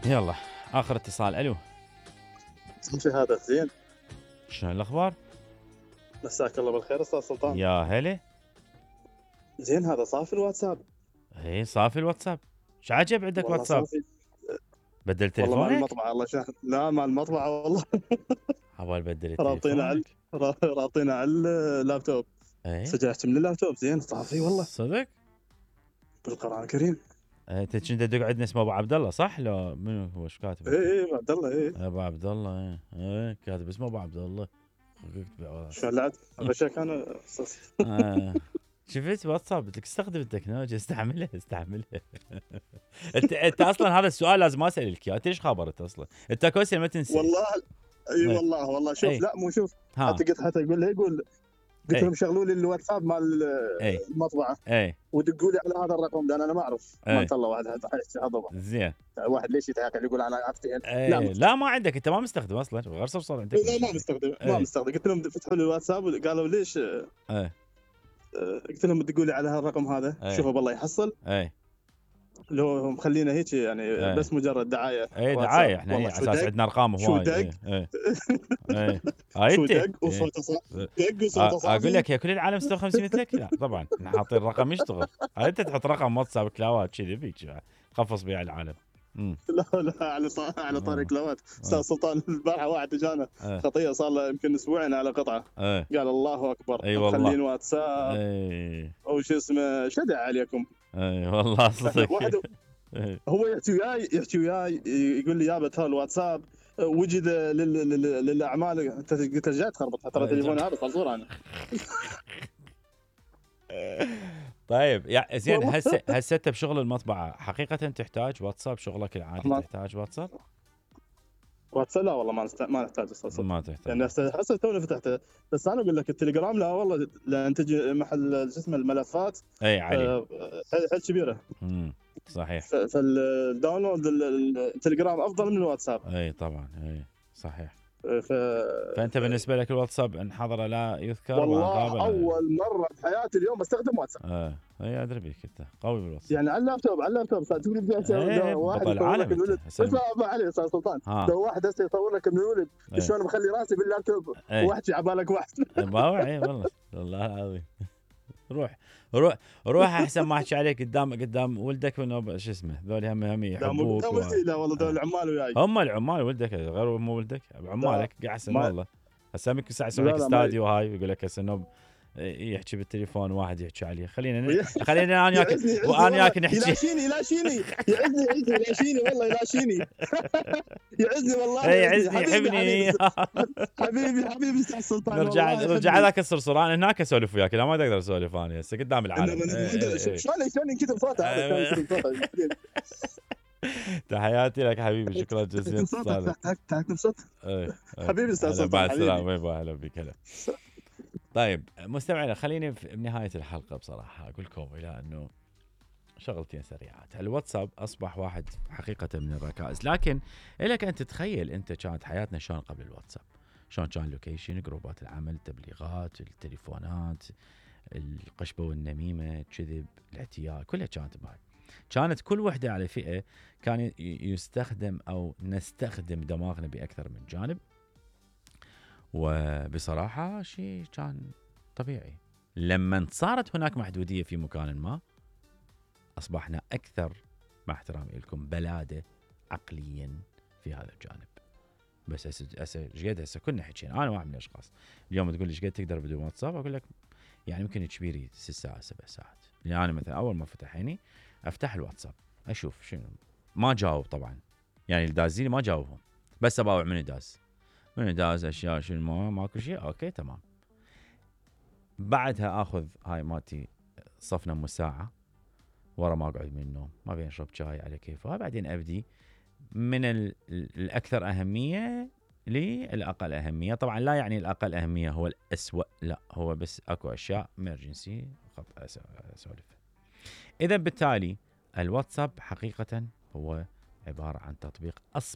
يلا اخر اتصال. الو في هذا زين. شلون الاخبار؟ مساك الله بالخير استاذ سلطان. يا هلا. زين هذا صافي الواتساب؟ اي صافي الواتساب. شو عجب عندك والله واتساب؟ صافي. بدل والله تليفونك؟ مال المطبعه الله شاهد. لا مال المطبعه والله. عبال بدل رابطينا على تليفونك. رابطينا على اللابتوب. اي سجلت من اللابتوب. زين صافي والله صدق؟ بالقران الكريم. انت كنت تقعد اسمه ابو عبد الله صح؟ لو منو هو ايش كاتب؟ اي عبد الله اي ابو عبد الله. اي كاتب اسمه ابو عبد الله. شو لعد غشك انا شفت واتساب قلت لك استخدم التكنولوجيا استعملها. انت اصلا هذا السؤال لازم اسالك اياه. انت ايش خبرت اصلا؟ انت كويس ما تنسى والله. اي والله شوف. لا مو شوف. حتى يقول له قلت لهم شغلوا لي الواتساب مال المطبعه ودقوا لي على هذا الرقم لان انا ما اعرف. ما الله واحد هذا زين. واحد ليش يتهاكل يقول انا افتح. لا ما عندك انت ما مستخدم اصلا غير صرصور عندك. لا ما مستخدم قلت لهم فتحوا لي الواتساب قالوا ليش. قلت لهم تقول لي على هالرقم هذا. شوفوا بالله يحصل. لو مخلينا هيك يعني بس مجرد دعايه. دعايه احنا على اساس عندنا ارقام هواي. شو دق وصوته صافي. اقول لك يا كل العالم 56 مثلك. لا طبعا احنا حاطين رقم يشتغل. انت تحط رقم واتساب كلاوات كذي بيك خفص بيه العالم. لا على طاري كلاوات. استاذ سلطان البارحه واحد اجانا خطيه صار له يمكن اسبوعين على قطعه. قال الله اكبر مخلين واتساب او شو اسمه شدع عليكم. اي والله صدق. هو يحكي وياي يقول لي يابا ترى الواتساب وجد للاعمال. انت قلت جاي تخربط ترى تليفوني هذا صار انا. طيب يا زين هسه انت بشغل المطبعه حقيقه تحتاج واتساب؟ شغلك العادي تحتاج واتساب؟ واتساب لا والله ما نحتاج اصلا. ما تحتاج يعني هسه توني فتحته. بس انا اقول لك التليجرام لا والله لان تجي محل شو اسمه الملفات. اي علي حيل كبيره. صحيح. فالداونلود التليجرام افضل من الواتساب. اي طبعا اي صحيح. فانت بالنسبه لك الواتساب انحضر لا يذكر. والله اول مره بحياتي اليوم استخدم واتساب. اي ادري بيك انت قوي بالواتساب. يعني على اللابتوب تقول لي واحد يصور لك الولد. اسمع علي استاذ سلطان. لو واحد هسه يصور لك من الولد شلون مخلي راسي باللابتوب واحكي على بالك واحد. ما وعي والله العظيم. روح احسن ما احكي عليك قدام ولدك من شو اسمه ذول هم يحبوك. لا والله ذول العمال وياي. هم العمال ولدك غير مو ولدك عمالك احسن والله. هسه يمكن ساعه يسوي لك استاديو هاي ويقول لك هسه انه يحكي بالتليفون واحد يحكي عليه. خلينا انا وياك وانا وياك نحكي. يلاشيني يعزني والله يلاشيني. يعزني والله يعزني يحبني. حبيبي استاذ سلطان. نرجع هذاك الصرصوران هناك اسولف وياك. لا ما اقدر اسولف انا هسه قدام العالم. شلون ينكتب صوته. تحياتي لك حبيبي. شكرا جزيلا. تكتب صوت. حبيبي استاذ سلطان. بعد السلامه. اهلا بك. هلا. طيب مستمعينا خليني بنهاية الحلقة بصراحة أقول لكم إلى أنه شغلتين سريعات. الواتساب أصبح واحد حقيقة من الركائز. لكن إلك أن تتخيل أنت كانت حياتنا شلون قبل الواتساب. شلون كان اللوكيشن جروبات العمل التبليغات التليفونات القشبة والنميمة الكذب الاعتياء كلها كانت بهاي. كانت كل وحدة على فئة كان يستخدم أو نستخدم دماغنا بأكثر من جانب. وبصراحة شيء كان طبيعي. لما صارت هناك محدودية في مكان ما أصبحنا أكثر مع احترامي لكم بلادة عقليا في هذا الجانب. بس هسه كنا حكينا. أنا واحد من الأشخاص اليوم تقول لي ايش قد تقدر بدون واتساب أقول لك يعني ممكن كبيري 6 ساعات 7 ساعات. يعني أنا مثلا أول ما فتح عيني أفتح الواتساب أشوف شنو. ما جاوب طبعا يعني الدازيني ما جاوبهم بس أباوع من داز اشياء شنو ماكو شيء اوكي تمام. بعدها اخذ هاي مالتي صفنا نص ساعه ورا ما اقعد من النوم ما بين اشرب شاي على كيفه. بعدين ابدي من الاكثر اهميه للاقل اهميه. طبعا لا يعني الاقل اهميه هو الاسوأ لا هو بس اكو اشياء امرجنسي اسولف. اذا بالتالي الواتساب حقيقه هو عباره عن تطبيق